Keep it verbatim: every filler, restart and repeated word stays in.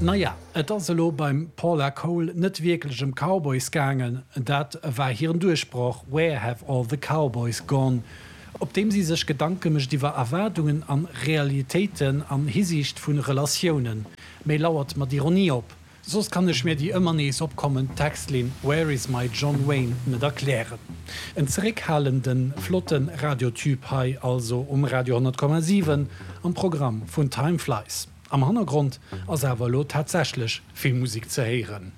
Naja, et ass elo beim Paula Cole net wierklech ëm Cowboys gaangen, dat war hiren Duerchbroch Where Have All the Cowboys Gone, op deem si sech Gedanke mécht iwwer Erwaardungen an Realitéiten an Hisiicht vu Relatiounen, mee lauert mat Ironie op. Soss kann ech mir déi ëmmer nees opkommend Textlinn Where is my John Wayne net erklären. En zeréckhalenden, flotte Radiotube hei also um Radio honnert Komma siwen am Programm vun Time Flies. Am Hannergrond ass awer elo tatsächlech vill Musek ze héieren.